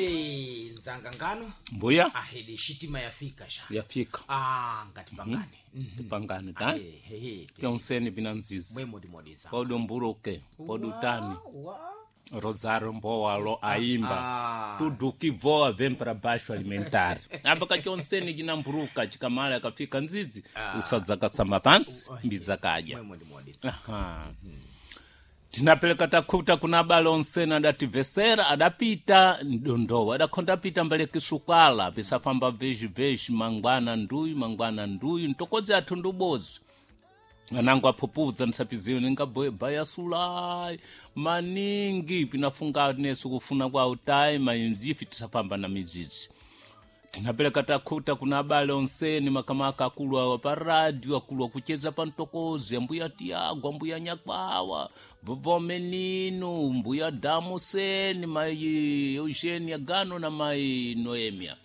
Ahede nzanga ngano. Mbuya. Ahede shitima yafika sha. Yafika. Ah, ngatipangane. Tipangane ta. Ehe. Pyonseni binanzizi. Mwemo ndimodiza. Podo mburuke, podo tani. Rosário Mbowa aimba. Tudo que voa vem para baixo alimentar. Amba kachonseni chinamburuka chikamala akafika nzizi usadzakasamba pansi mbiza kadya. Mwemo ndimodiza. Aha. Tinapeleka takhuta kuna abale onsene adativesera adapita ndondowa adakhonda pita mbale kisukala pisafamba veji veji mangwana nduyu mangwana nduyu ntokodzi athu ndubozi anango aphupuza nsapiziyo ningabaya sulai maningi pinafunga nesu kufuna kwa utayi mainzifi tisafamba na midzidzi. Tinapeleka takhuta kuna abale onseni makamaka akulu awa pa radio akulu akucheza pa mtokozi ambuya Tiago ambuya Nyakwawa vovó Menino mbuya Damuseni mai Eugenia Gano na mai Noemia.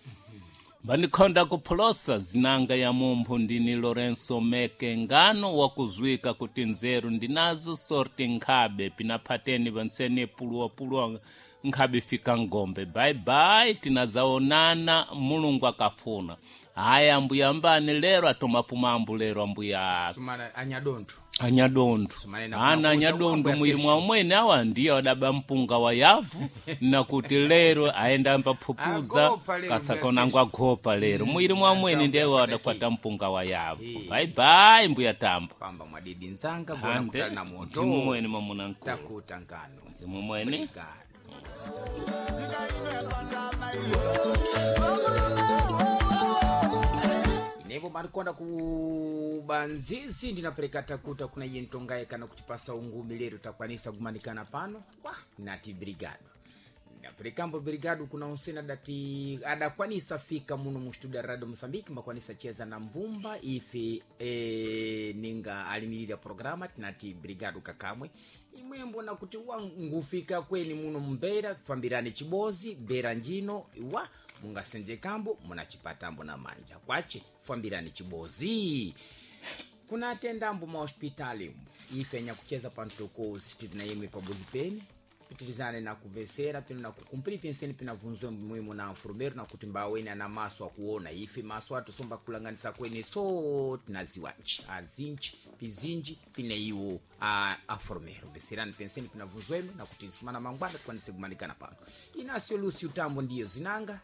Mbanikhonda kupholosa zinanga ya mumphu ndini Lorenzo Meke ngano wakuzwika kuti nzeru ndinazo sorti nkhabe pinaphateni vansene puluwapuluwa nkhabe fika ngombe. Bye bye, tinazaonana Mulungu akafuna. Haya ambuya mbani lero atomapumambu lero ambuya Sumana anyadontho. Anyadontho. Sumane na Ana kumakuza anyadontho kwambo mwiri ya mwa umwene awa ndiye adaba mpunga wa yavu nakuti lero aenda ambaphupuza Agopa lero kasakonango agopa lero mwiri mwa umwene ndiye wadakwata mpunga wa yavu. Bye bye mbuya tambo. Pamba mwadidi nzanga gona Ande kutali na moto. ndimumwene mwamuna nkulu. Takuta ngano. Ndimumwene. Obrigado. Inevo marikonda kubanzizi ndinapereka takuta kuna iye ntongaye kana kutipasa ungumi lero takwanisa kumanikana pano kwa nati brigado ndaperekambo brigado kuna onsena dati adakwanisa fika muno mu studio ya radio Mozambique mbakwanisa cheza na mvumba ife ninga alimirira programa tinati brigado kakamwe imwembo nakuti wangufika kweni muno mbera fambirani chibozi bera njino wa mungasenje kambo munachipatambo na manja kwache fambirani chibozi kuna atendambo mahospitali ife nyakucheza pantokozi tili na imwe pabuzi pene pitilizane na kuvesera pino na kukumpiri penseni pinavunzwe muhimu na mfurumero na kuti mbaweni ana maso akuona ife maso atusomba kulanganisa kweni so tinaziwanji azinji pizinji pine iwo a afurumero veserani penseni pinavunzweme na kuti sumana mangwana tikwanise kumanikana pano inasio Lucio Tambo ndiyo zinanga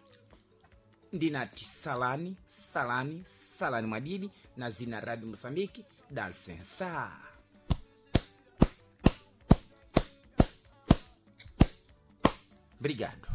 ndinati salani salani salani mwadidi na zina Radio Mosambiki dalsensa. Obrigado.